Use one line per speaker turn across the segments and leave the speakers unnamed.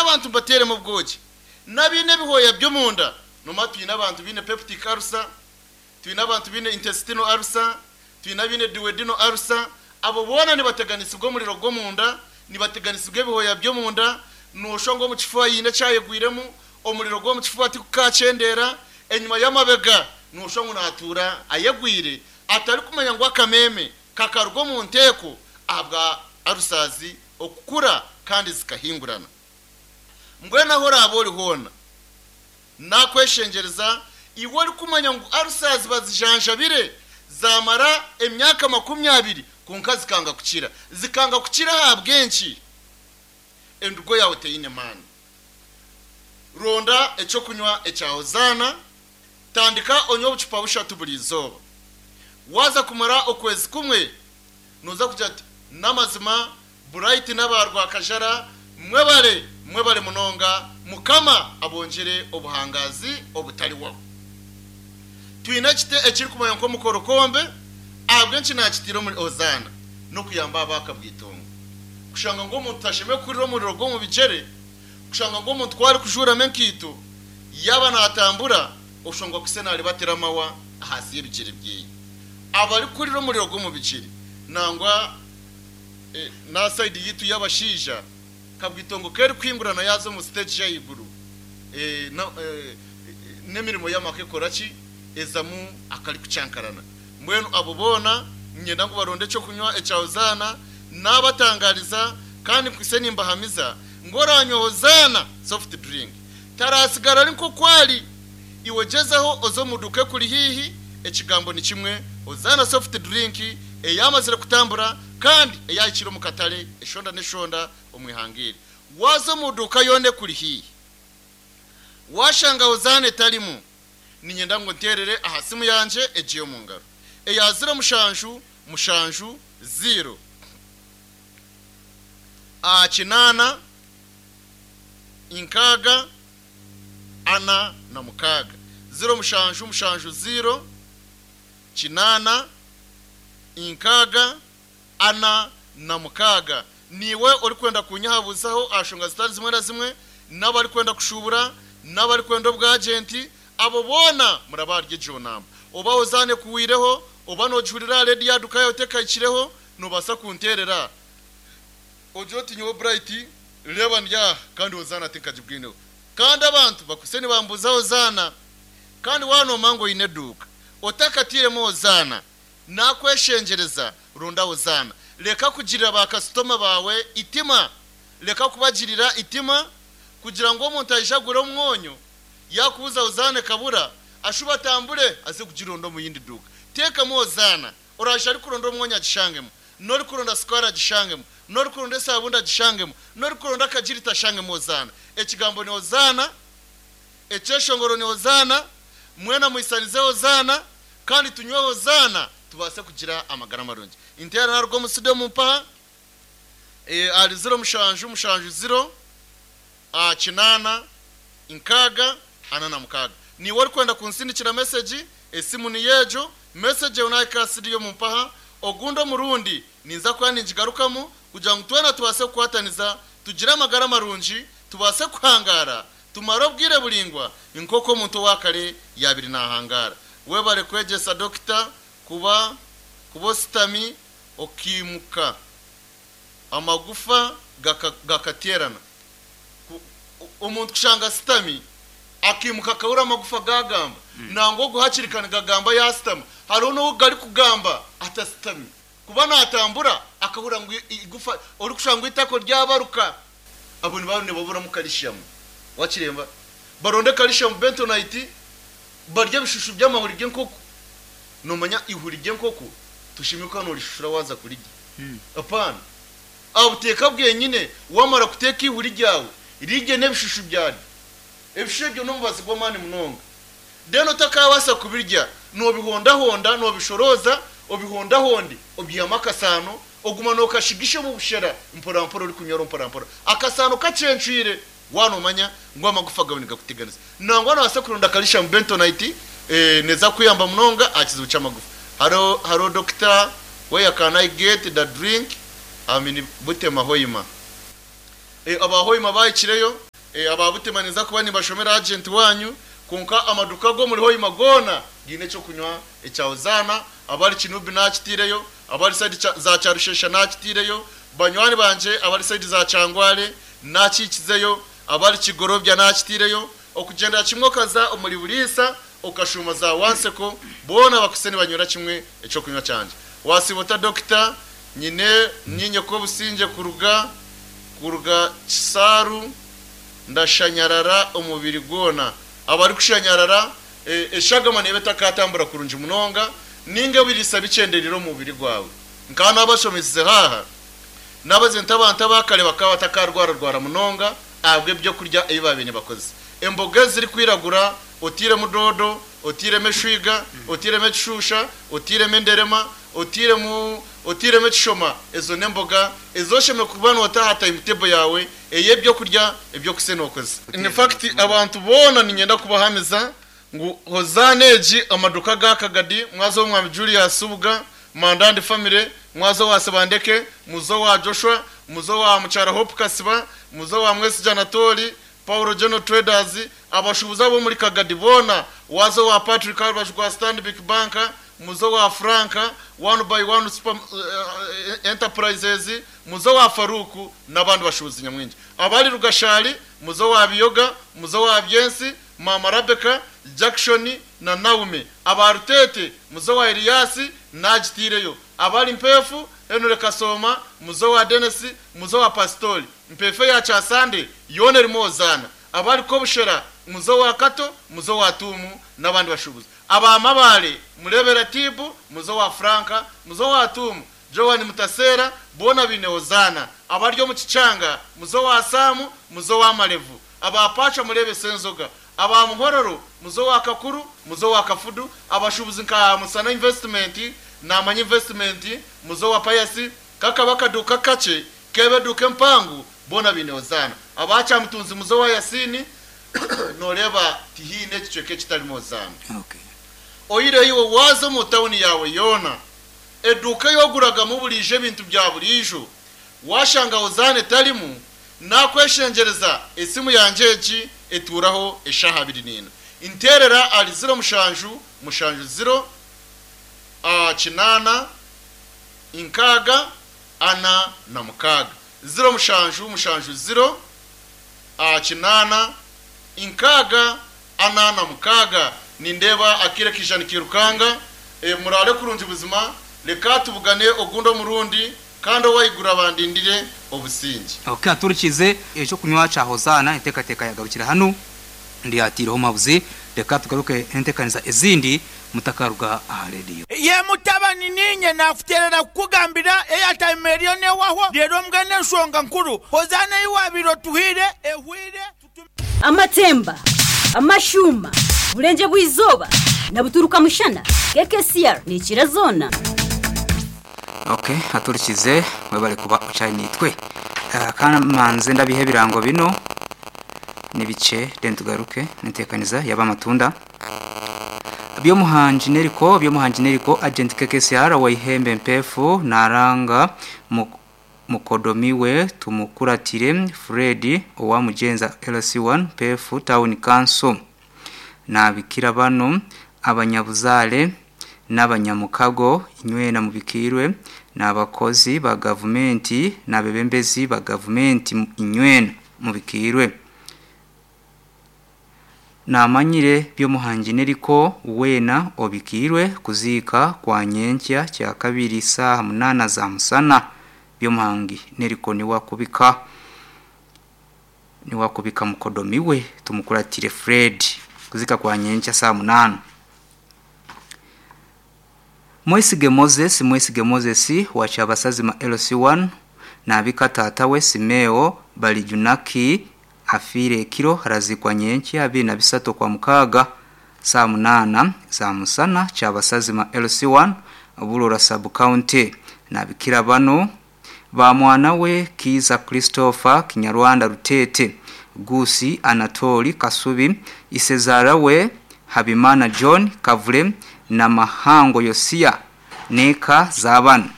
Abantu mbateeremu obwogi. N'abaine ebihooya by'omunda, noomanya twine abantu baine peptic ulcer, twine abantu baine intestinal ulcer, twine abaine duodenal ulcer, abo boona nibateganisibwa omuriro gw'omunda, nibateganisibwa ebihooya by'omunda, nooshwa ngu omu kifuba haine ekyayegwiremu, omuriro gw'omu kifuba tigukakyendeera, enyima y'amabega nooshwa ngu naatuura ayegwire atarikumanya ngu akameeme kakaruga omu nteeko ahabwa ulcers okukura kandi zikahingurana. Mbwenu ahu oraabe ori hoona, naakweshengyereza iwe orikumanya ngu ulcers bazijanjabire zaamara emyaka 20 kwonka zikanga kukira. Zikanga kukira ahabw'enki? Endugo yaawe teine maani. Ronda eky'okunywa ekya Hozaana, tandika onywe obucupa bushatu buri izooba. Waaza kumara okwezi kumwe, nooza kugira oti, N'amazima, Bright n'aba Rwakajara mwebare, mwebare munonga, Mukama abongyere obuhangaazi obutarihwaho. Twine ekiti ekirikumanywa nk'omukorokombe, ahabw'enki naakitaire omuri Hozaana? N'okuyamba abaakabwitongo. Kushanga ngu omuntu tashemereire kuhurira omuriro gw'omu bigyere, kushanga ngu omuntu ku arikujuuramu enkaito, yaaba naatambura, oshangwa akwaitse naaribatira amahwa ahansi y'ebigyere bye. Abarikuhurira omuriro gw'omu bigyere nangwa n'aha sayidi yaitu y'abashaija, kabwitongo ku erikuhingurana yaaza omu siteegi y'ahaiguru, n'emirimo y'amaka ekora ki? Ezamu akarikucankarana. Mbwenu abo boona niinyenda ngu baronde eky'okunywa ekya Hozaana, naabatangaariza kandi nkwitse nimbahamiza ngu oraanywa Hozaana soft drink taraatsigara ari nk'oku ari. Iwe gyezaho oze omu duuka ekuri haihi, ekigambo ni kimwe, Hozaana soft drink eyaamazire kutambura kandi eyaahikire omu katare eshonda n'eshonda omu ihanga eri. Waaza omu duuka yoona ekuri haihi, waashanga Hozaana etarimu, Niinyenda ngu nteerere aha simu yangye egi ey'omu ngaro eya ziro mushanju mushanju ziiro a kinaana inkaaga ana na mukaaga. Ziro mushanju mushanju ziiro kinaana inkaaga ana na mukaaga. Niiwe orikwenda kuunyehabuzaho aha nshonga zitari zimwe na zimwe, n'abarikwenda kushuubura, n'abarikwenda obwagenti, abo boona murabe ahari egyo namba. Oba ozaana ekuhweireho, oba noogihurira aha rediyo aha duka yaawe tekahikireho, noobaasa kunteerera ogire oti nyowe Bright reeba ndi aha kandi Hozaana tinkagibwineho. Kandi abantu bakwaitse nibambuuza Hozaana. Kandi waaba noomanya ngu oine eduuka, otakatairemu Hozaana, Nakweshengyereza, ronda Hozaana. Reka kugirira ba kasitoma baawe eitima. Reka kubagirira eitima kugira ngu omuntu aije agure omwonyo, yaakubuuza Hozaana ekabura, ashube atambure aze kugironda omu yindi duuka. Teekamu Hozaana. Oraije arikuronda omwonyo agishangemu, n'orikuronda sukaari agishangemu, n'orikuronda esaabundi agishangemu, n'orikuronda akagirita ashangemu Hozaana. Ekigambo ni Hozaana, ekyeshongoro ni Hozaana, mwena muhisanize Hozaana. Kandi tunywe Hozaana tubaase kugira amagara marungi. Inteera naruga omu studio mumpaha ahari ziro mushanju mushanju ziro kinaana nkaaga ana na mukaaga. Niiwe orikwenda kunsindikira mesegi, esimu niyo egyo, mesegi eyo nahika aha studio mumpaha, ogundi omurundi ninza kuba ningigarukamu kugira ngu twena tubaase kukwataniza tugire amagara marungi, tubaase kuhangaara Tumare obwire buraingwa nk'oku omuntu owa kare yaabaire naahangaara. Webare kwegyesa Dokita kuba kuba ositami okaimuka amagufa gakateerana. Omuntu kushanga asitami akaimuka akahurira amagufa gaagamba. Nangwa ogu hakiri ka nigagamba yaasitama. Hariho n'ogu garikugamba atasitami. Kuba naatambura akahurira ngu eigufa, orikushanga ngu eitako ryabaruka. Abo nibaba nibaburamu kalishiyamu. Wakireeba? Baronde kalishiyamu bentonite, barye ebishushu by'amahuri g'enkoko. Noomanya eihuri ry'enkoko toshemereire kuba noorishushura waaza kurirya. Apaana. Aha buteeka bwenyine, waamara kuteeka eihuri ryawe, rirye n'ebishushu byaryo. Ebishushu ebyo n'omubazi gw'amaani munonga. Then otakaabaasa kubirya, noobihondahonda, noobishorooza, obihondahonde, obyihamu akasaano, Oguma nookashigisha omu bushera mporampora orikunywera mporampora. Akasaano kacencwire waaba noomanya ngu amagufa gaawe nigakuteganisa. Nangwa noobaasa kuronda calcium bentonite neeza kukuyamba munonga aha kizibu ky'amagufa. Hariho hariho doctor where can I get the drink I'm in Butema Hoima. Aba Hoima baahikireyo. Aba Butima ninza kuba nimbashomera agenti waanyu, kwonka amaduuka ag'omuri Hoima goona gaine eky'okunywa ekya Hozaana. Abari Kinubi naakitaireyo, abari sayidi za Kyarushesha naakitaireyo, banywani bangye abari sayidi za Kyangwale naakihikizeyo, abari Kigorobya naakitaireyo, okugyendera kimwe okaza omuri Buriisa okashuuma za Wanseko, boona bakwaitse nibanywera kimwe eky'okunywa kyangye. Waasiiba ota Dokita? Nyine niinye Kobusingye kuruga kuruga Kisaaru ndashanyarara omubiri gwona. Abarikushanyarara, eshagama neeba etakatambura kurungi munonga ninga ebiriisa bikyendereire omu mubiri gwawe. Nkaba nabashomesize haaha, nabagira nti abantu aba kare bakaba batakarwararwara munonga ahabw'ebyokurya ebi baabaire nibakozesa. Emboga ezirikwiragura, otairemu doodo, otairemu eshwiga, otairemu ekishuusha, otairemu enderema, otairemu otairemu ekishoma, ezo n'emboga ezi oshemereire kuba noota aha timetable yaawe ey'ebyokurya eby'okusa nookozesa. In fact abantu boona niinyenda kubahamiza ngu Hozaana egi amaduuka aga Kagadi, mwaza ow'Omwami Julius Subuga, Mandandi family, mwaza owa Sebandeke, muze owa Joshua, muze owa Mukyara Hope Kasiba, muze owa Mwesigye Anatoli, Paulo General Traders, abashuubuzi ab'omuri Kagadi boona, waaza owa Patrick aha rubaju rwa Stanbic Bank, muze owa Frank, One by One Super Enterprises, muze owa Farouk n'abandi bashuubuzi nyamwingi. Abari Rugashari, muze owa Biyoga, muze owa Byensi, Maama Rabecca, Jackson na Naume. Aba Ruteete, muze owa Elias, naagitaireyo. Abari Mpeefu, Henry Kasooma, muze owa Denis, muze owa Pasitori. Mpeefu eya Kyasande yoona erimu Hozaana. Abari Kobushera, muze owa Kato, muze owa Tuumu n'abandi bashuubuzi. Aba Mabaale, mureebe Ratibu, muze owa Franka, muze owa Tuumu, Joan Mutaseera, boona baine Hozaana. Abari omu Kikyanga, muze owa Saamu, muze owa Marevu. Aba Pacha mureebe Senzoga. Aba Muhororo, muze owa Kakuru, muze owa Kafudu. Abashuubuzi nka Musana Investment, Namanya Investment, muze owa Payasi, kakaba akaduuka kakye, Keeba eduuka empango, boona baine Hozaana. Aba Kyamutunzi muze owa Yasiini, nooreeba tihaine ekicweka ekitarimu Hozaana. Oihireho iwe waaza omu tauni yaawe yoona, eduuka ei oguragamu buriijo ebintu bya buriijo, waashanga Hozaana etarimu, naakweshengyereza esimu yangye egi etuuraho eshaaha abiri n'ina. Nteerera ahari ziro mushanju mushanju ziro kinaana nkaaga 46. 0 7 7 0 8 6 46 Nindeeba akaire kaija nikairukanga. Muraare kurungi buzima. Reka tubugane ogundi omurundi, kandi ow'ahaiguru abandindire obusingye.
Ok aturikize ekyokunywa kya Hozaana entekateka yagarukira hanu ndyatiireho omuhabuzi reka tugaruke entekaniza ezindi mutakaruga aha rediyo.
Ye mutabani, niinye naakuteerera kukugambira eyataima eriyo neehwaho, reero mbwenu enshonga nkuru, Hozaana ei waabaire otuhaire ehwaire, tutume.
Amatemba, amashuuma, Burengye bw'eizooba na buturuka mushana, KKCR neekira zoona.
Ok aturikize webale kuba okyari naitwe. Ka manze ndabiha ebirango binu nibikye then tugaruke nenteekaniza yaba amatunda. Byomuhangi Neriko Byomuhangi Neriko Agent KKCR owa Ihembe Mpeefu naranga mukodomi we Tumukuratire Fred owa Mugyenza LC1 Mpeefu Town Council. Nabikira banu abanyabuzaare n'abanyamukago inywena mubikiirwe n'abakozi ba gavumenti n'abebembezi ba gavumenti inywena mubikiirwe. Namanyire Byomuhangi Neriko weena obikiirwe kuziika kwa nyenkya Kyakabiri saaha munaana za musana. Byomuhangi Neriko niwe akubika niwe akubika mukodomi we Tumukuratire Fred kuziika kwa nyenkya saaha munaana. Mwesige Moses Mwesige Moses wa Kyabasazima LC1 naabika taata we Simeo Balijunaki afiire ekiro araziikwa nyenkya 23 Okwamukaaga saaha munaana za musana Kyabasazima LC1 Burora Sub County. Naabikira banu ba mwana we Kiiza Christopher Kinyarwanda Ruteete, Guusi Anatoli Kasubi, Isezaara we Habimana John Kavule na Mahango Yosia n'eka za banu,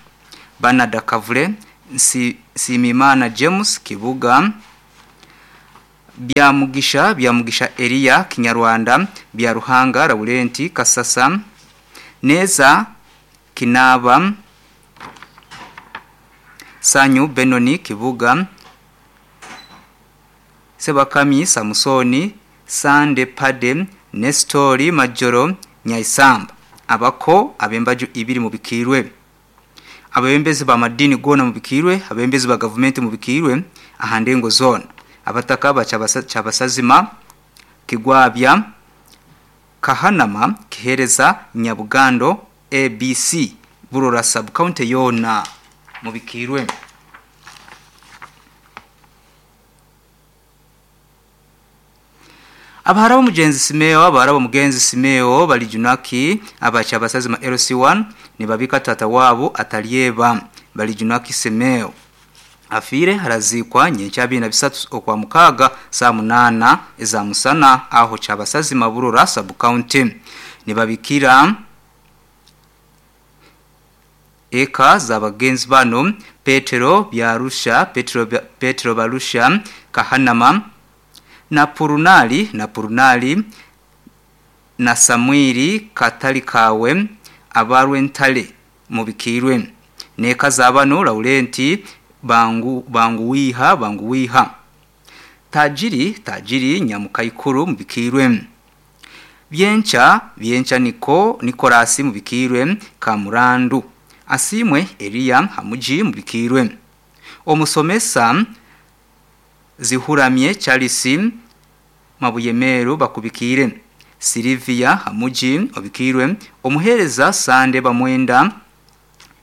Banada Kavule, Nsiimimana James Kibuga, Byamugisha Byamugisha Eliya Kinyarwanda Byaruhanga Laurenti Kasasa Neza Kinaba Sanyu Benoni Kibuga Sebakami Samusoni Sande Pade Nestori Majoro Nyaisamba abako abembaju ibiri mubikirwe abebembezi ba madini gona mubikirwe abebembezi ba government mubikirwe ahandengo zone abataka cyabasazima Kigwabya Kahanama Kihereza Nyabugando ABC Burora sub county yona mubikirwe. Abahara mugenzi Simeo abahara mugenzi Simeo bali junaki abacha basazima LC1 ni babika tata wabo atalieba bali junaki Simeo afire harazikwa nyencha 23 okwa mukaga saa 8 eza musana aho cyabasazima Burora sub county ni babikira eka za bagenzi bano Petero Byarusha Petero Barusha Kahanama na Purunali na Samwiri Katalikawe abarwentale mubikirwe neka zabano Laurenti banguwiha Tajiri Nyamukaikuru mubikirwe Byencha Nikolasi mubikirwe Kamurandu Asimwe Eliya Hamuji mubikirwe Omusomesa Zihuramye Charles Mabuyemeru bakubikire Silvia Hamuji obikirwe Omuhereza Sande Bamwenda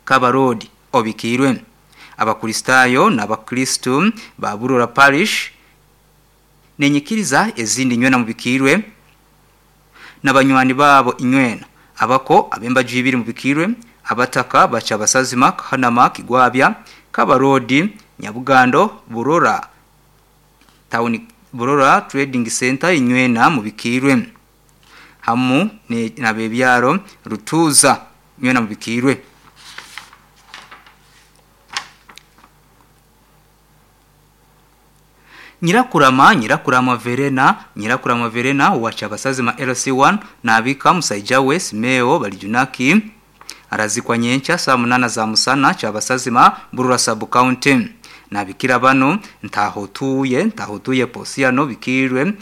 Kabarodi obikirwe Abakristayo n'abakristu ba Burora Parish nenyikiriza ezindi nywena mubikirwe n'abanywani babo inywena abako abembaju ibiri mubikirwe abataka bacha basazima Kahanama Kigwabya Kabarodi Nyabugando Burora Town Burora Trading Center inywena mubikirwe hamu na bebyaro Rutuza inywena mubikirwe. Nyirakurama Verena wacha basazima LC1 na abika Musaijawe Simeo balijunaki arazikwa nyencha saa 8 za musana cyabasazima Burura sub county na bikira bano ntahotuye Posiano bikirwe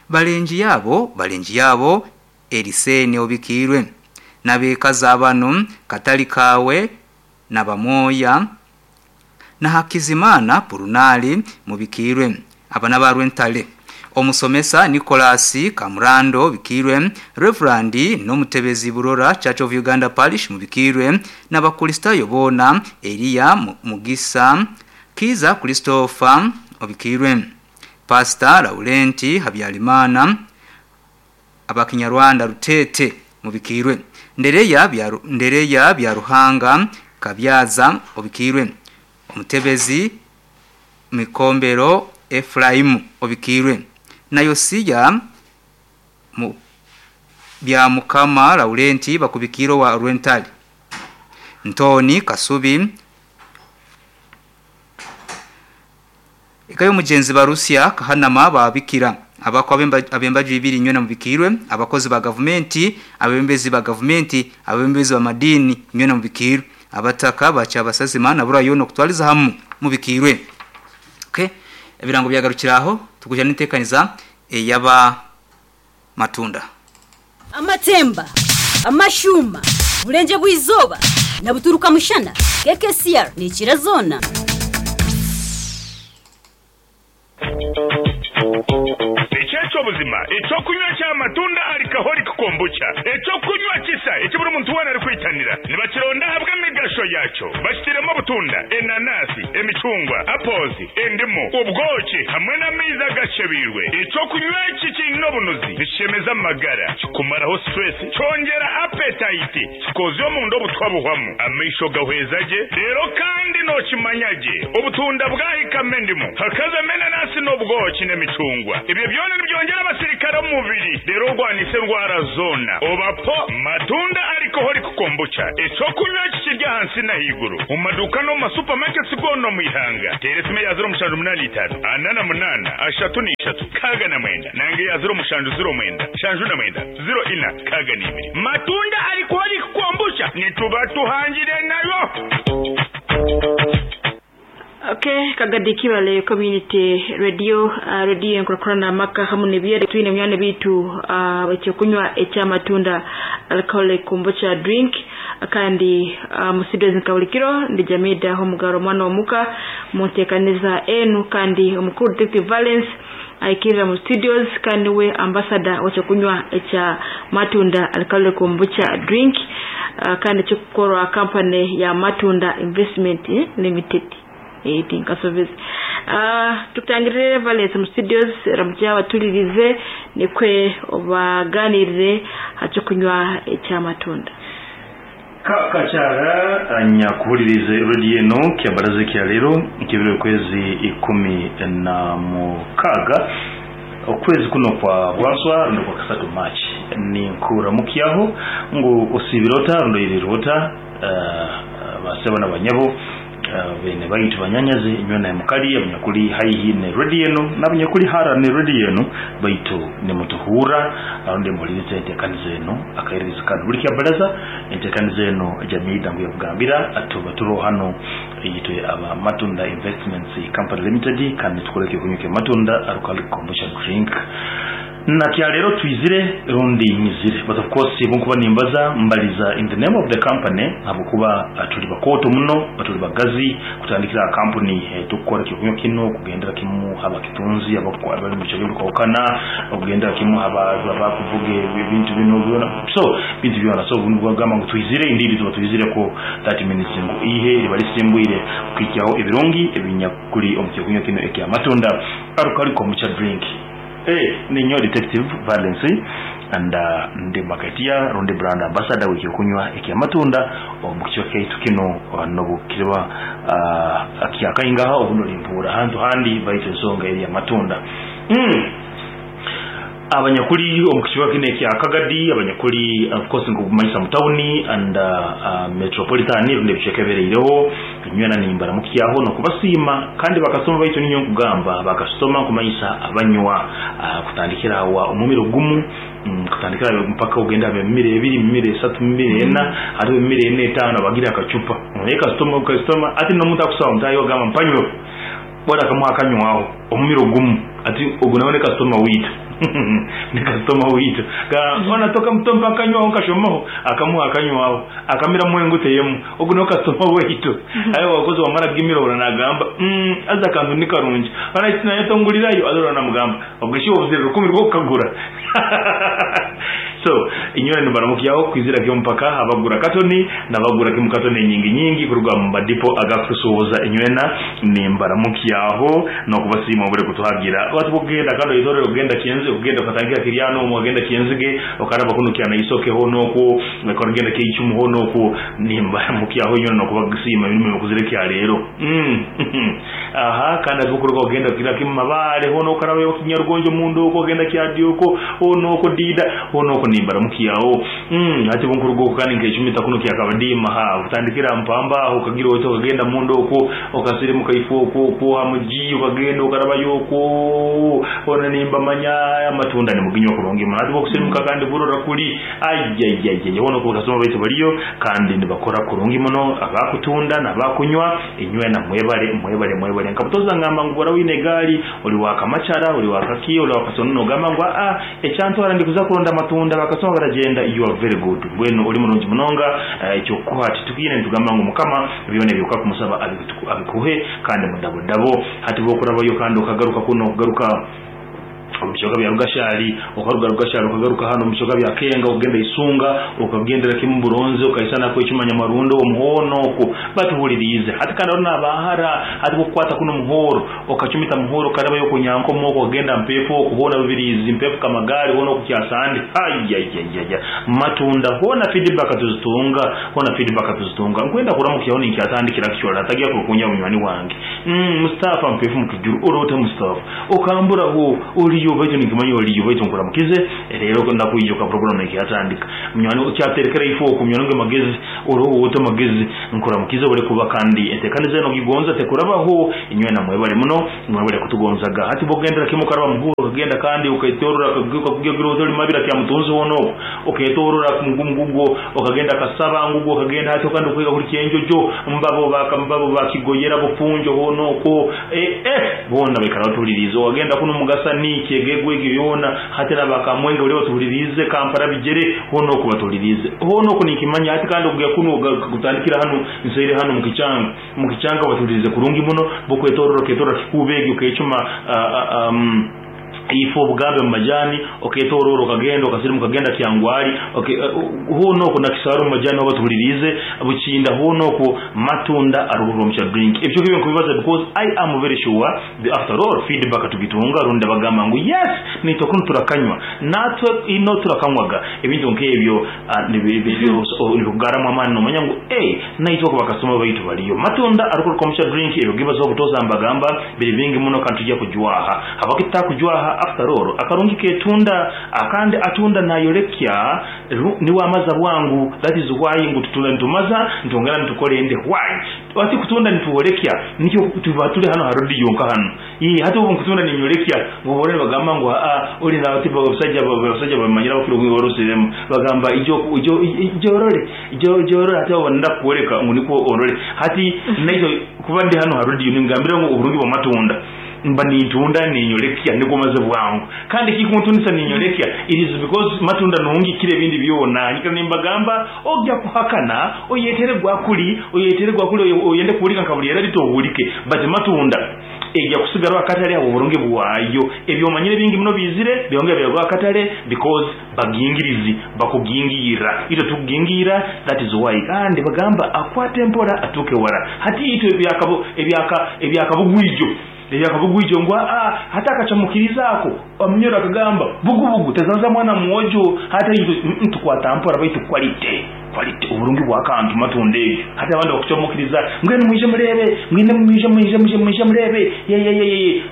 balenji yabo Elisene obikirwe nabeka bano Katalikawe na Bamoya na Hakizimana Purunali mubikirwe abana barwentale Omusomesa Nikolasi Kamurando bikirwe Reverandi n'omutebezi Burora Church of Uganda Parish mubikirwe n'abakristayo bona Eliya Mugisa Kiza Christopher obikirwe Pastor Laurenti Habyarimana abakinyarwanda Rutete mubikirwe Ndereya Byaruhanga Kabyaza obikirwe Omutebezi Mikombero Efraimu obikirwe na Yosiya bya Mukama Laurenti bakubikiro wa Rwentali Ntoni Kasubi ikayo mugenzi Barusia Kahanama babikira abako abembaju ibiri nywena mubikirwe abakozi ba government abembezi ba government abembezi ba madini nywena mubikirwe abataka bacha basazima na bura yono kutwaliza hamu mubikirwe. Okay, ebirango byagarukiraho tukuja nitekaniza eyaba matunda
amatemba amashuma burenje bwizoba na buturuka mushana KKCR ni kirazona.
Echo buzima echo kunywa cha matunda alcoholic kombucha echo kunywa kisa ekiburi muntu wana ari kwitanira nibakironda habwa emigasho yacho bashitiremo butunda enanasi emicungwa apples endimu ubwoki hamwe n'amaizi agashebirwe echo kunywa iki kirina obunuzi bishemeza amagara kikumaraho stress cyongera appetite kikoze omunda obutwa buhwamu amaisho gahweza ge rero kandi nokimanya ge obutunda bwahikamo endimu hakazamo enanasi n'obwoki n'emicungwa ibyo byona nibyongera abasirikare mu mubiri rero urwanise indwara zoona. Oba po Matunda Alcoholic Kombucha, eky'okunywa eki kiri ahansi n'ahaiguru omu maduuka n'omu ma supermarkets goona omu ihanga. Teera esimu eya ziro mushanju munaana itaano ana na munaana ashatu na ishatu nkaaga na mwenda nanga eya ziro mushanju ziro mwenda nshanju na mwenda ziro ina nkaaga na ibiri. Matunda Alcoholic Kombucha nituba tuhangire nayo.
Okay, Kagadi Kibale Community Radio, radio enkurakurana amaka hamu n'ebyere twine munywani bitu ekyokunywa ekyamatunda alcoholic kombucha drink kandi musidozi nka buli kiro ndi Jamida Homugaro omwana omuka munteekaniza enu kandi omukuru Detective Valence aikirira mu studios kandi we ambassador w'ekyokunywa ekya matunda alcoholic kombucha drink kandi kikukorwa company ya Matunda Investment Limited. Tinkasobeze tukutangirire Valence mu studios ramukya abatulirize nikwe obaganirire hakyokunywa ekyamatunda.
Kakakyara nyakuhulirize radio eno kyabaraza kya leero kibiri okwezi 16 okwezi kuno kwa bwanswa rundo kwa kasatu March ninkuramukyaho ngu osibirota rundo irirota basebo na banyabo bene baitu banyanyazi inywe na mukali abanyakuli haihi ne radio eno n'abanyakuli hara ne radio eno baitu nimutuhura arundi mulirize enteekaniza eno akaiririza kandi buli kyabaraza enteekaniza eno jamii ngu yakugambira atuba turo hano yitwe aba Matunda Investments Company Limited kandi tukore ekyokunywa kya Matunda alcoholic kombucha drink na kya lero twizire rundi nyizire, but of course bunkuba nimbaza mbaliza in the name of the company habwokuba tuli bakoto muno batuli bagazi kutandikira company tukora ekyokunywa kino kugendera kimu haba kitunzi abali mu kyalo kwawukana okugendera kimu haba abakuvuga ebintu bino byona so bintu byona so bugamba ngu twizire indiri tuba twizire ko 30 minutes ngu ihe libalisimbwire kukijyaho ebirungi ebinyakuli omu kyokunywa kino ekya Matunda alcoholic kombucha drink. Ninyo Detective Valence and ndi marketeer rundi brand ambassador w'ekyokunywa ekya Matunda omu kichwa kyaitu kino nobukirwa akyakaingaha obuno limpura hantu handi baitu ensonga eri ya Matunda. Abanyakuli omu kichwa kino ekya Kagadi, abanyakuli of course nkukumanyisa mu tawuni and metropolitan rundi ebicweka ebireireho nywena nimbaramukyaho nokubasiima kandi bakasoma baitu ninyo nkugamba bakasoma nkumanyisa abanywa kutandikira wa omumiro gumu kutandikira mpaka ogenda emimiro ebiri, emimiro esatu, emimiro ena, hariho emimiro ena etaano bagira akacupa naye kasitoma kasitoma ati n'omuntu akusaba mutayo ogamba mpanywe bora akamuha akanywaho omumiro gumu ati ogu nawe ne kasitoma wiitu ne kasitoma wiitu ona toka mutompa akanywaho nkashomaho akamuha akanywaho akamira mwengu teyemu ogu nawe kasitoma wiitu ayo wakozi wamara gimiro ora nagamba aza akantu ni karungi ona iti naye tongulirayo azora namugamba ubwo shi obuzire rukumi rwo kukagura. So inywe nibaramukyaho kwizira kyo mpaka abagura katoni nabagura kimu katoni nyingi nyingi kuruga mu madipo agakusuhuza inywena nimbaramukyaho nokubasiima obure kutuhagira watu kugenda kando itorero kugenda kienzi kugenda katangira kiryano mu kugenda kienzige okaraba kuno kyana isokeho noko kugenda kiyichumu ho noko nimbaramukyaho inywena nokubasiima birimo kuzire kya rero aha kandi avukuruka kugenda kira kimu mabale ho nokaraba yo kinyarugonjo mundu ko kugenda kyadyuko ho noko dida ho noko nimbaramukyaho ati bunkurugo kandi nkechumita kuno kyakabadima ha utandikira mpamba aho kagira oto kagenda mundu uko okasirimu kaifo uko uko hamuji ukagenda ukaraba yoko ona nimba manya amatunda ni muginyo kurungi ati bokusirimuka kandi burora kuli ayayayay wono ko kasoma baitu baliyo kandi nibakora kurungi muno abakutunda nabakunywa inywe na mwebale mwebale mwebale nkabutoza ngamba ngubora wine gali oli wakamachara oli wakaki oli wakasono gamba ngwa a echantu arandi kuza kulonda matunda bakasoma baragenda you are very good bweno oli mulungi munonga ekyokuha titukine ntugamba ngu mukama byone byuka kumusaba abikuhe kandi mudabodabo hati bokurabayo kandi okagaruka kuno okugaruka omubicoka bya Rugashari okaruga Rugashari okagaruka hano omubicoka bya Kenga okugenda Isunga okagendera kimu Buronze okaisana ko ekimanya marundo omuhono oko batuhulirize hati kandi orona abahara hati kukwata kuno muhoro okachumita muhoro karaba yo kunyanko moko okagenda mpepo okuhona bibirizi mpepo kamagari hono okukyasandi ayayayaya matunda hona feedback tuzitunga hona feedback tuzitunga nkwenda kuramukyaho ninkyatandikira kichora atagiya kukunya munywani wange Mustafa mpefu mukijuru orote Mustafa okambura ho uri Oriyo baitu ninkimanya oriyo baitu nkuramukize rero ndakwijuka program ekiyatandika munywani kyaterekera ifo oku munywani wange Magezi oroho ota Magezi nkuramukize obure kuba kandi entekaniza eno ogigonza tekurabaho inywena mwebale muno mwebale kutugonzaga hati bogendera kimu karaba muhuro okagenda kandi uketorora kakugira otoli mabira kya mutunzi hono oku oketorora ngugo okagenda kasaba ngugo okagenda hati kandi okwiga kuri kyenjojo mbabo bakambabo bakigoyera bufunjo hono oko bona baikara batulirize wagenda kuno mugasa ni kyegegwe egyo yona hati nabakamwenge buli batulirize Kampala bijere hono oko batulirize hono oko nikimanya hati kandi okuya kuno kutandikira hano nsaire hano mukichanga batulirize kurungi muno bokwetorora ketorora kikubegi okechuma ifo obugambe mu majani oketorora okagenda okasirimu kagenda kyangwali hono oko nakisaru mu majani obatulirize bukinda hono oko matunda aruhuro mu drink ebyo kibyo nkubibaza because I am very sure the after all feedback tugitunga runda bagamba ngu yes nitokunu turakanywa natwe ino turakanywaga ebintu nkebyo nibigaramu amani nomanya ngu naitwa ko bakasoma baitu baliyo matunda aruhuro mu drink ebyo gibazo obutoza mbagamba biri bingi muno kandi tujya kujwaha habakita kujwaha after all akarungi ketunda akandi atunda nayorekya niwe amaza bwangu that is why ngu tutunda ntumaza ntongera ntukore ende why wati kutunda nituolekya nikyo tubatule hano harodi yonka hano iyi hati ubu nkutunda ninyorekya ngo bore bagamba ngo a uri na bati basajja bamanyira bakiro ngorosiremo bagamba ijo ijo ijorore ijo jorore hati abonda kuoleka ngo niko orore hati nayo kuba ndi hano harodi ningambira ngo uburungi bwa matunda mba nitunda ninyorekya nikomaze bwangu kandi kikuntundisa ninyorekya it is because matunda nungi kile bindi byona nyika nimbagamba ojja kuhakana oyetere gwakuli oyende kuulika nkabuli era litohulike but matunda ejja kusigara akatale abo burungi bwayo ebyo manyire bingi muno bizire byongera byagwa akatale because bagingirizi bakugingira ito tugingira that is why kandi bagamba akwate mpora atuke wara hati ito ebyakabugwijo ebyakabugwijo ngwa hata akacamukirizaako omunyoro akagamba bugubugu tezanza mwana mwojo hata ito tukwata mpora baitu quality oburungi bwakantu matunda ebyo hata abandi bakucamukiriza ngwene mwije murebe ngwene mwije murebe ye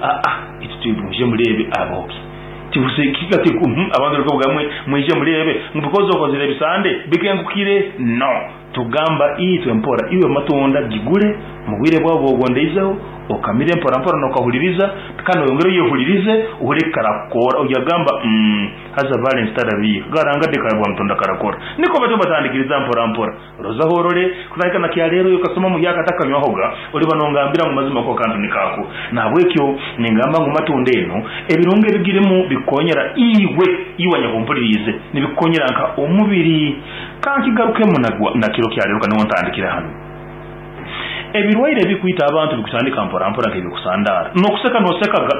ito mwije murebe aboki tibusekika tiku abantu riko bwamwe mwije murebe because okozire bisande bikengukire no tugamba itwe mpora iwe matunda gigure mugwire bwabo bogondeizeho okamire mpora mpora nokahuliriza kandi oyongere yehulirize uhore karakora uyagamba haza balance tarabi garanga dekabwa mtunda karakora niko bato batandikiriza mpora mpora roza horore kutandika na kya rero yokasoma mu yaka takanywahoga uri banongambira mu mazima ko kantu nikako nabwekyo ningamba ngo matunda eno ebirunge bigiremu bikonyera iwe iwanya kumpulirize nibikonyera nka omubiri kankigarukemo na kiro kya rero kandi ntandikira hano ebirwaire bikuita abantu bikutandika mpora mpora nkibikusandara nokuseka nosekaga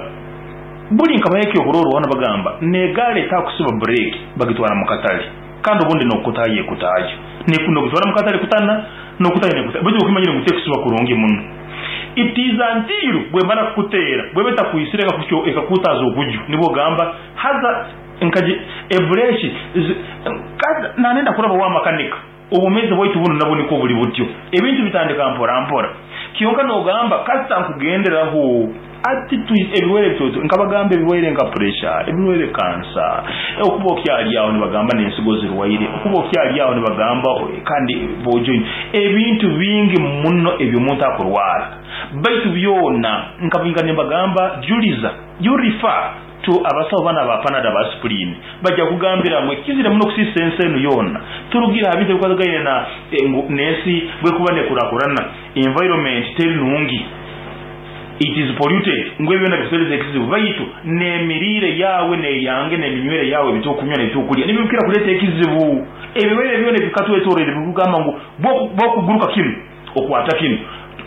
buli nkabayeke okuroro wana bagamba negale takusiba break bagitwara mu katale kandi ubundi nokutaye kutayo nikuno gutwara mu katale kutana nokutaye nekutaye byo ukimanyire ngute kusiba kurungi muno itiza ntiru bwe mara kutera bwe beta kuyisireka kucyo ekakutaza okuju nibo gamba haza nkaji ebreshi nanenda kuraba wa makanika obumeze bwaitu buno nabo niko buli butyo ebintu bitandika mpora mpora kiyonka nogamba kasita nkugenderaho ati ebiwere bitoto nkabagamba ebiwere nka pressure ebiwere cancer okuba okyali awo nibagamba n'ensigo zirwaire okuba okyali awo nibagamba kandi bojo ebintu bingi muno ebyo omuntu akurwara baitu byona nkabinga nibagamba juliza you refer to abasawo bana ba Panada ba aspirin bajja kugambira mwe kizire muno kusisa ensenu yona turugira abite bikazagaine na nesi bwe kuba nekurakurana environment teri nungi it is polluted ngwe byona bisereze ekizibu baitu nemirire yawe ne yange ne minywere yawe bitokunywa ne bitokulya nibikira kuleta ekizibu ebiwere byona bikatwetorere bikugamba ngo bokuguruka kimu okwata kimu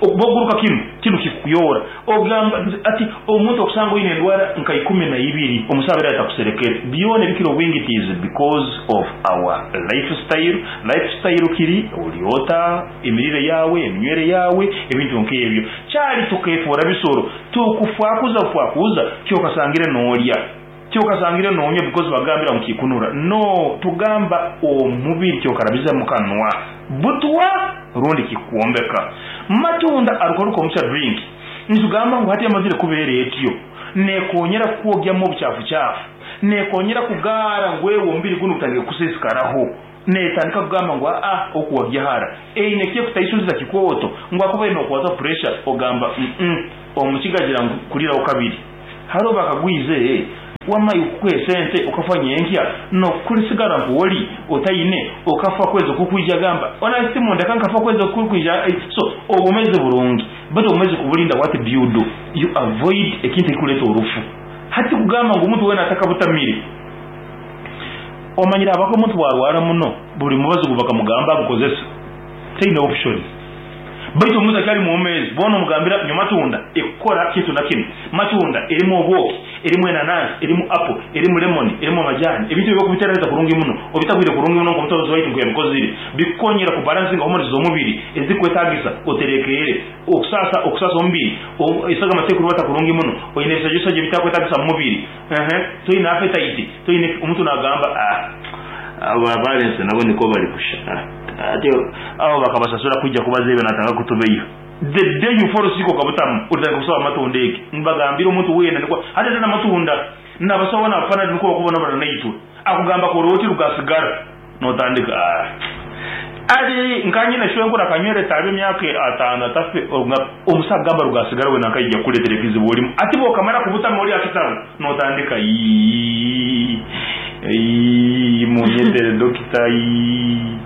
okuboguruka kimu kinu kikuyora ogamba ati omuntu okusanga oyine endwara nka 12 omusabira atakuserekera byone bikiro wingi it is because of our lifestyle kiri oliota emirire yawe eminywere yawe ebintu nk'ebyo kyali tukefura bisoro tukufwakuza fwakuza kyokasangire n'olya kyokasangire n'onywa because bagambira mukikunura no tugamba omubiri kyokarabiza mukanwa butwa rundi kikuombeka matunda arukoruko omusha drink nitugamba ngu hati amazire kubeera etyo Nekonyera kukwogyamu obuchafuchafu, nekonyera kugaara ngu ewe omubiri gunu gutandike kusiisikaraho. Netandika kugamba ngu aa okuwagyahara eine kyekutaisuliza kikooto ngu akubaire nokwata pressure ogamba mm omukiga agira ngu kuriraho kabiri. Hariho bakagwize wamma iwe kukuha esente okafa nyenkya nokurisigara nkuwori otaine okafa kwezi okukwija agamba ona simu ndeka nkafa kwezi okukwija so obwomezi burungi but obwomezi kuburinda what do you do you avoid ekintu ekikureta orufu hati kugamba ngu omuntu wena atakabutamire omanyire habwaki omuntu bwarwara muno buri mubazi ogubakamugamba agukozesa taine option. Baitu omuntu akyali mwomeezi, boona omugambira, Nywa matunda, ekukora kintu na kinu. Matunda erimu obwoki, erimu enanansi, erimu apo, erimu lemoni, erimu amajani. Ebintu ebi okubiteeraniza kurungi muno, obitabwire kurungi muno nk'omutabuzi waitu nkuyabikozire, bikukonyera kubalansinga hormones z'omubiri ezirikwetagisa oterekeere. Okusaasa, okusaasa omubiri, esagama tekurubata kurungi muno, oine ebisajosajo ebitakwetagisa mu mubiri, ehe, toine appetite, toine, omuntu nagamba, ah, aba balensi nabo nikwo bari kusha. Ah. Ati abo bakabasasura kwija kubaza ebyo natanga kutubeiha. The day you fall sick okabutamu otandika kusaba amatunda egi nibagambira omuntu weena nikwo hati ate namatunda nabasawo bona abafanana nikwo bakubonabona naitwe akugamba kora oti rugasigara notandika aah ati nka nyine shwenkuru akanywera etaabe emyaka atano atafe omusawo akugamba rugasigara wena nkaija kukuretera ekizibu orimu ati bwokamara kubutama ori ahakitabu notandika iyii iyii munyetere dokita iyii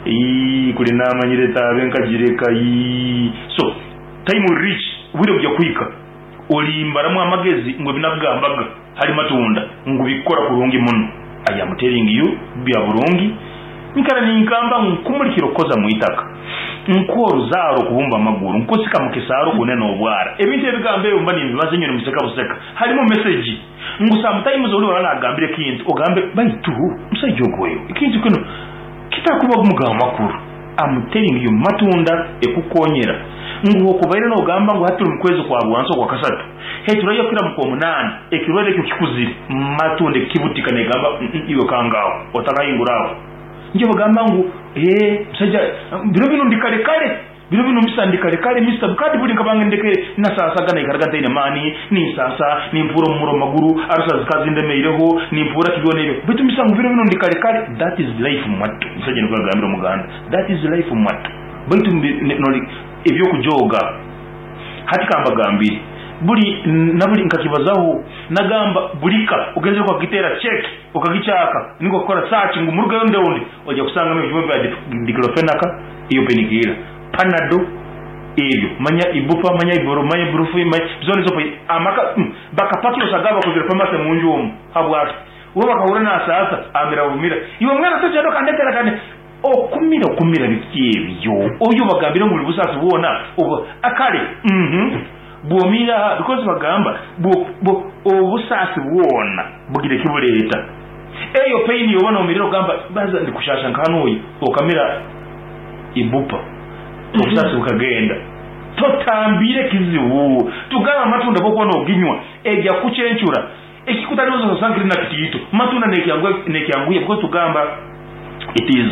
iyii kuri namanyire etaabe nkagireka iyii so time will reach obwire bugya kuhika orimbaramu amagezi ngu ebinakugambaga hari matunda ngu bikukora kurungi muno I am telling you bya burungi Nyikara ningamba ngu nkumurikira okukoza mu itaka, nk'oruzaaro okubumba amaguru, nkusika mu kisaaro okunena obwara. Ebintu ebigambo ebyo mba nimbibaza inywe nimuseka buseka. Harimu message ngu sometimes ori oraba nagambira ekintu ogambe baitu musaija ogu oyo ekintu kinu kitakuba mugamba makuru. I'm telling you matunda ekukonyera ngu hokubaire nogamba ngu hati turi mukwezi kwa bwansi okwa kasatu heturaiyo kukira mukwomunana ekirwaire ekyo kikuzire matunda ekibutika negamba iwe kanga aho otakahingura aho. Nikyo bagamba ngu ee musaija biro binu ndi kare kare, biro binu misa ndi kare kare misa kandi buri nkaba ndekere nasasaga naikaraga ntaine maani, ninsasa, nimpuura omumuro omu maguru, arusa zikaba zindemeireho, nimpuura ki byona ebyo baitu misa ngu biro binu ndi kare kare. That is life mwattu, omusaija nikwo yagambire omuganda, that is life mwattu baitu eby'okujooga. Hati kambagambire, buri naburi nkakibazaho nagamba buri ka ogenzire okagiteera check okagikyaka ninga okakora search ngu murugeyo ndeundi oija kusangamu ebijuma bya diclofenac, eyo painkiller, panado ebyo manya ibupa manya iburo manya iburufi manya zoona ezo amaka bakapakira osanga bakozire pharmacy munju omu habwaki? Bo bakahurra nasaasa amira bumira iwe mwana togyenda okandetera kande Okumira okumira biki ebyo oyo bagambire ngu buri busaasi bwona obu kare uhmm bwomiire aha because bagamba obusaasi bwona bugira eki bureeta eyo pain yoba nomirira ogamba baza ndikushasha nka hanuya okamira ibupa obusaasi bukagenda totambire ekizibu tugambe amatunda agokuba noginywa egya kukucencura Ekikutariho osanga kiri na kitiito. Matunda nekyanguhya because tugamba it is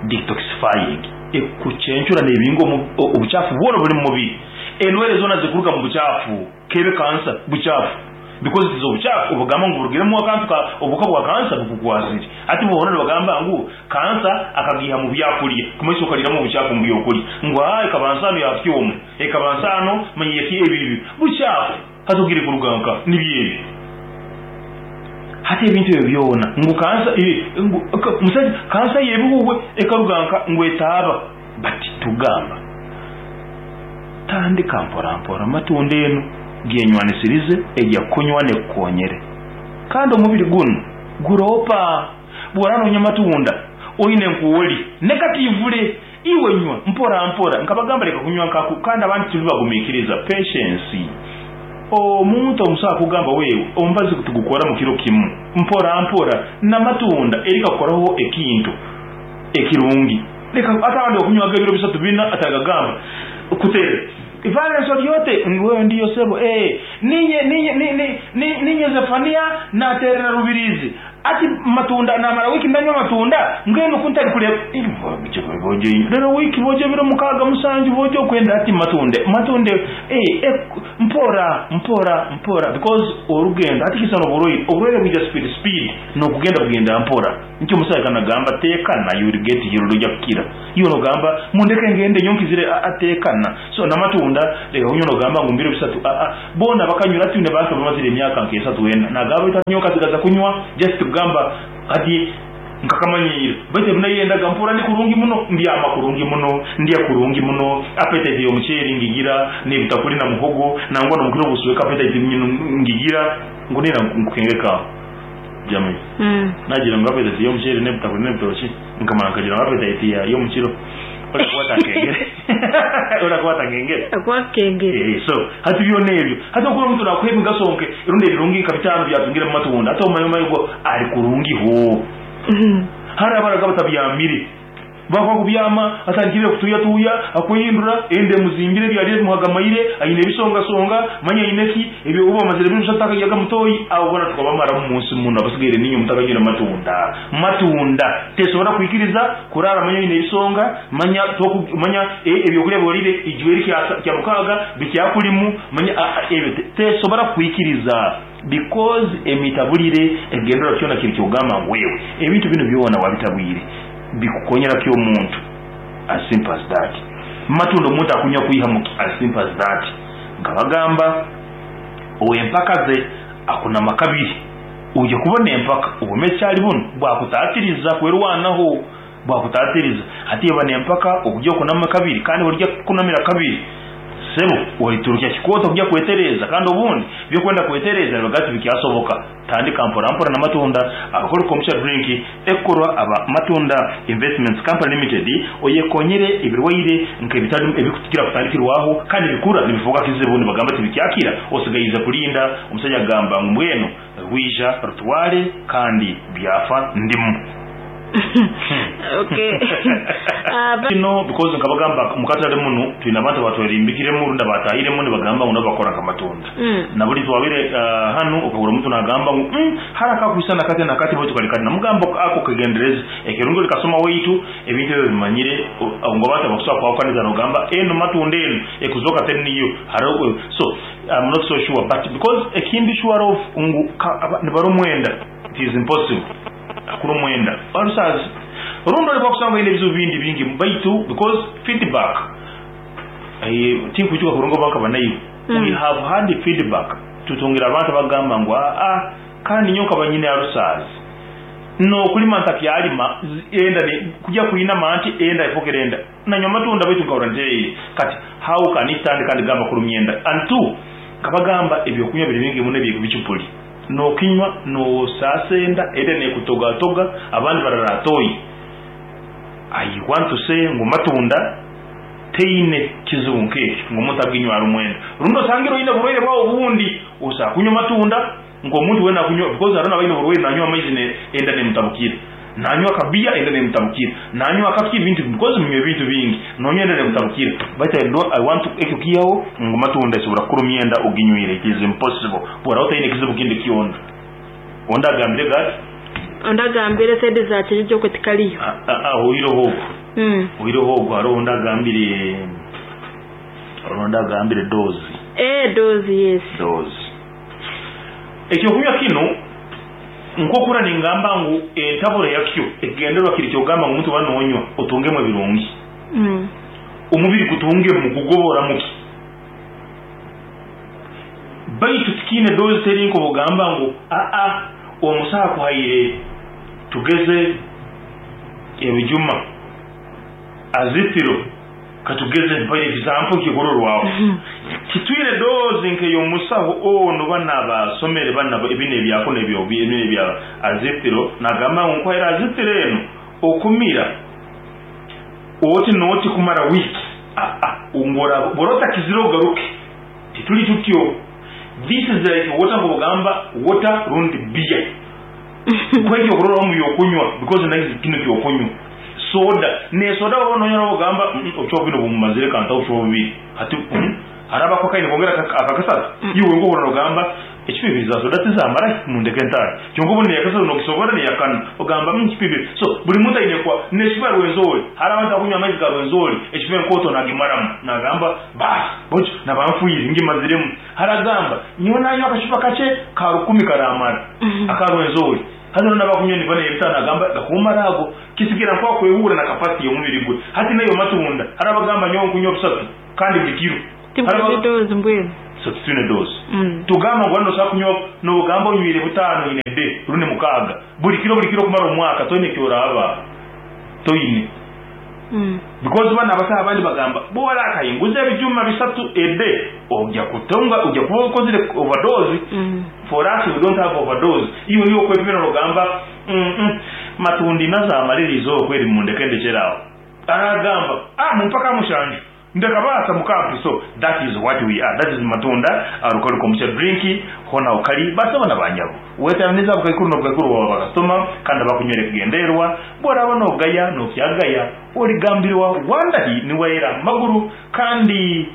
detoxifying, ekucencura nebinga obuchafu bwona oburi mumubiri. Endwaire zona zikuruga mubuchafu kebe cancer buchafu because it is obuchafu obugamba ngu burugiremu akantu ka obuhuka bwa cancer bukukwasire. Hati boona nibagamba ngu cancer akagiiha mubyakurya kumanyisa okariramu obuchafu mubyokurya ngu haa ekaba nsano ya kyoma ekaba nsano manya yeki ebi ebi buchafu. Hati ogire kuruga nka nibyo ebi. Hati ebintu ebyo byona ngu kansa ngu musaija kansa y'ebihuhwe ekaruga nka ngu etaaba but tugamba tandika mpora mpora amatunda enu gyenywanisirize egya kunywa nekukonyere kandi omubiri gunu guropa bworaba nonywa amatunda oine nkuwoli negatively Iwe nywa mpora mpora. Nkabagamba leka kunywa nkaku kandi abandi turi bagumikiriza. Patience. Omuntu omusawo akugamba wewe omubazi tugukora mukiro kimu. Mpora mpora namatunda eri kakukoraho ekintu ekirungi. Leka ate abandi bakunywaga ebiro bisatu bina atagagamba kutere. Valens ori ote? Wewe ndiyo sebo. Ee ninye ninye ninye Zefania naterera Rubirizi. Ati matunda namara wiiki ndanywa amatunda mbwenu ku ntari kureeba reero wiiki boojo ebiro mukaaga mushanju boojo okwenda ati matunde matunde eh, mpora mpora mpora because orugendo hati kisana oburwaire oburwaire bwija speed speed nokugenda bugenda mpora nikyo omusaija kanagamba tekana you will get healed ojja kukira iwe nogamba mundeke ngende nyowe nkizire aa tekana so namatunda leka kunywa nogamba ngu mubiro bisatu aa boona bakanyura twine bantu abamazire emyaka nk'esatu ena nagamba baitu hati nyowe nkasigaza kunywa just kugamba hati nkakamanyiire baitu ebi nayendaga mpurra ndi kurungi muno mbyama kurungi muno ndya kurungi muno appetite y'omuceeri ngigira n'ebitakuri na muhogo nangwa n'omukiro obusweka appetite nyine ngigira ngu nina nkukengeka Jamie nagira ngu appetite y'omuceeri n'ebitakuri n'ebitookye nkamara nkagira ngu appetite ya y'omukiro orakuba otankengere orakuba otankengere
Akwakengere.
Eh, so hati byona ebyo hati okuba omuntu nakuha emigaso nke rundi ebirungi nka bitano byatungire mu matunda hati omanya omanyi gwo ari kurungi ho hari abaraga batabyamire bakuba kubyama atandikire kutuyatuya akwehindura ende muzingire byari bimuhagamaire aine ebisongasonga manya aine ki ebyo uba amazire ebiro bishatu atakajyaga mutoyi abo bona tukabamaramu munsi muno abasigaire ninyo mutakanyura matunda matunda tesobora kwikiriza kurara manya aine ebisonga manya toku manya ebyokulya byorire ijweri kya mukaaga bikyakulimu manya ebyo tesobora kwikiriza because emitabulire egendera kyona kiri kyogamba ngu wewe ebintu bino byona wabitabwire bikukonyera kyo omuntu as simple as that matunda omuntu akunywa kwiha mu as simple as that nkabagamba ow'empaka ze akunama kabiri ujya kubona empaka obumekyali buno bwakutatiriza kwerwanaho bwakutatiriza hati yaba nempaka okujya okunama kabiri kandi burya kunamira kabiri sebo oriturukya kikooto kujya kwetereza kandi obundi byokwenda kwetereza nibagati bikyasoboka tandika mpora mpora n'amatunda abakora kombucha drink ekorwa aba Matunda Investments Company Limited oyekonyere ebirwaire nk'ebitari ebikutukira kutandikirwaho kandi bikura nibifuuka kizibu nibagamba tibikyakira osigaize kulinda omusajja agamba ngu mbwenu rwija rutware kandi byafa ndimu.
Okay.
Kino because nkabagamba mukatale muno twine abantu abatwerimbikiremu rundi abatahiremu nibagamba ngu nabo bakora nk'amatunda. Naburi twabire hanu okagura omuntu nagamba ngu hari akakwisana kati na kati baitu kali kati namugamba ako kegendereze ekirungi likasoma waitu ebintu ebyo bimanyire ngu abantu abakusobola kwawukaniza nogamba eno matunda eno ekuzoka teri niyo hariho so I'm not so sure but because ekindi sure of ngu nibara omwenda it is impossible akura omwenda orusazi rundi oliba kusanga oine ebizibu bindi bingi baitu because feedback tinkwijuka kurungi oba nkaba naiwe we have had feedback tutungire abantu abagamba ngu aa kandi nyowe nkaba nyine arusazi nokulima ntakyalima enda kujya kwinama nti enda efokere enda nanywa amatunda baitu nkahurra ntereire kati how can it stand kandi gamba kurumya enda and two nkabagamba ebyokunywa biri bingi muno ebyebicupuli nokinywa nosasa enda enda nekutogatoga abandi bararatoyi I want to say ngu matunda teine kizibu nkekyo ngu omuntu aginywa ari omwenda rundi osangire oine oburwaire bwawe obundi osa kunywa matunda ng'omuntu wena akunywa because hariho n'abaine oburwaire nanywa amaizi enda nemutabukira nanywa akabiya enda nemutabukira nanywa akaki ebintu because munywa ebintu bingi nonywa enda nemutabukira but I don't, I want to ekyo kiyaho ngu matunda esobora kukurumya enda oginywire it is impossible bwora otaine ekizibu kindi kyona ondi agambire gati
Ondi agambire sente za kijiji okwe tikariyo.
Oireho ogwo oireho ogwo hariho ondi agambire hariho ondi agambire dozi
Dozi yes.
Dozi ekyokunywa kinu nkokura ningamba ngu entabura yakyo ekigendererwa kiri kyogamba ngu omuntu oba nonywa otungemu ebirungi omubiri gutungemu gugoboramuki baitu tikiine dozi teri nkobugamba ngu aa omusaha akuhaire tugeze ebijuma azitiro katugeze mpaire example kikurorwaho titwine dozi nk'eyomusaho ono bana basomere bana ebino ebyako nebyo ebino ebya azitiro nagamba ngu nkuhaire azitiro eno okumira oti noti kumara wiki aa ngora borota kiziro ogaruke tituli tutyo this is like water ngobugamba water rundi beer kwekyo kurora mu yokunywa because nayo kino kyokunywa soda ne soda wabona nonyora ogamba ocho bino bumumazire kanta ocho bubiri hati haraba ko kaine kongera akakasatu iwe ngo urora ogamba Ecupa ibiri za soda tizamarahi mundeke ntaahe. Kyonka obundi neyakasatu nogisobora neyakana ogamba mm ecupa ibiri. So buri muntu aine kwa necupa ya Rwenzori hariho abantu abakunywa amaizi ga Rwenzori ecupa enkooto nagimaramu nagamba baasi bwekyo naba nfwire ngimaziremu. Hariho agamba nyowe nanywa akacupa kakye ka rukumi karamara aka Rwenzori. Haza noona abakunywa niva neyebitaano nagamba gakumara ago. Kisigira nkwakwehurra na capacity yomubiri gwe. Hati nayo matunda hariho abagamba nyowe nkunywa busatu kandi buri kiro.
Tibwine dose mbwenu.
So titwine dose. Tugamba ngu wanu nosobola kunywa nogamba onywire butaano in a day rundi mukaaga buri kiro buri kiro kumara omwaka toine ekyoraba toine because banu abasaho abandi bagamba bworakahinguza ebijuma bisatu a day ogya kutunga ogya kuba okozire overdose. For us we don't have overdose. Iwe niwe okwepimira nogamba mm matundi nazamara erizooba kweri mundeke ndekyere aho. Aragamba ah mumpe aka mushanju. Ndakabaasa mukampi so that is what we are that is matunda alcoholic kombucha drink hona okari basebo na banyabo weteranize abukaikuru nobukaikuru bwaba bakasitoma kandi abakunywera ekigendererwa bworaba nogaya nokyagaya origambirwa wandahi niwaira maguru kandi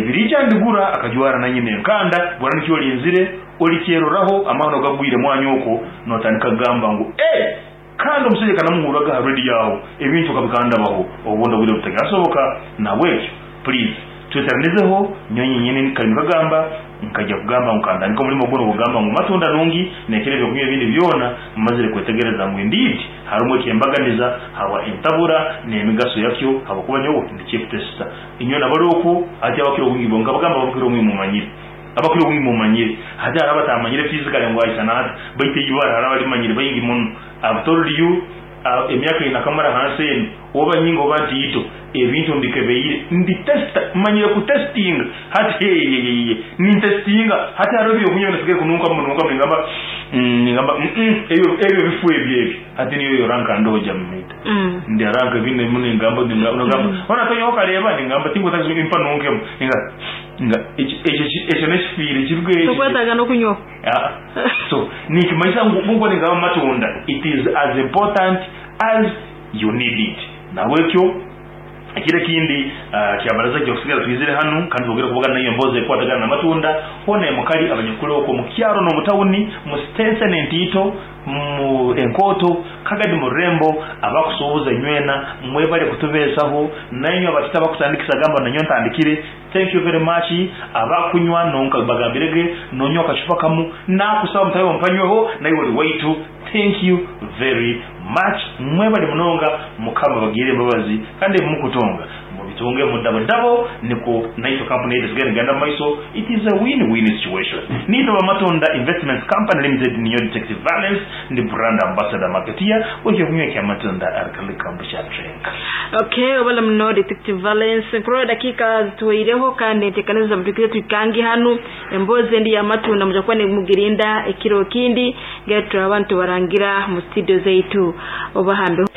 birija ndigura akajwara na nyine enkanda bwora nikyo orinzire orikyeroraho amahano gagwire mwanya okwo notandika kugamba ngu kandi omushaija kanamuhurraga aha radio aho ebintu kabikandabaho obundi obwire butakasoboka nahabwekyo please tweteranizeho nyowe nyenyini kare nikagamba nkajya kugamba ngu kantandike omurimo gunu ogugamba ngu matunda nungi nekera ebyokunywa ebindi byona mmazire kwetegereza ngu indeed harumu ekyembaganiza habwa entabura n'emigaso yakyo habwokuba nyowe ndi chief tester inywe nabali oku hati abakira obwingi bo nkabagamba abakira obwingi mumanyire abakira obwingi mumanyire hati hariho abatamanyire physically ngu aisana ata baitu eibara hariho abalimanyire baingi muno. I've told you emyaka ei nakamara hansi enu oba nyingi oba ntiito ebintu mbikebeire ndi tester manyire ku testinga hati heyeyeye nintestinga hati hariho ebyokunywa ebinasigaire kununkamu nunkamu ningamba ningamba ebyo ebyo bifu ebyo ebyo hati niyo yo rank ndoja mumita ndi rank ebindi ningamba ningamba hona tonyaho okareba ningamba tinkwetagisa impa nunkemu ninga nga ekyo ekyo nekifiire ekyo
Tokwetaaga n'okunywaho.
So nikimanyisa ngu nkoku ningamba amatunda it is as important as you need it. Nahabwekyo ekiro ekindi kyabaraza kyokusigara twizire hanu kandi twongere kubagana naiwe emboozi ekukwatagana n'amatunda hoona emukali abanyakuli okwo omu kyaro n'omu tawuni mu sitenseni entiito mu enkooto kagadi mu rurembo abakusuubuza inywena mwebale kutubeesaho nainywe abatito abakutandikisa gamba nanyowe ntandikire. Thank you very much abakunywa nonka bagambirege nonywa akacupa kamu nakusaba mutahi wawe mpanyweho naiwe ori waitu thank you very much mwebale munonga mukama abagirire embabazi kandi ebimukutunga mubitunge mu dabo dabo nikwo naitwe kampuni yaitu esigare negenda mumaiso it is a win win situation nitwe ba Matunda Investments Company Limited ninyowe Detective Valence ndi brand ambassador marketeer wekyokunywa ekya Matunda Alcoholic Kombucha Drink.
Okay, obala muno Detective Valence. Nkurora dakiika zituhweireho kandi enteekaniza mutuikire tuikange hanu. Emboozi endi y'amatunda muja kuba nimugirinda ekiro kindi. Ngira turaba nitubarangira mu studio zaitu. Obahambeho.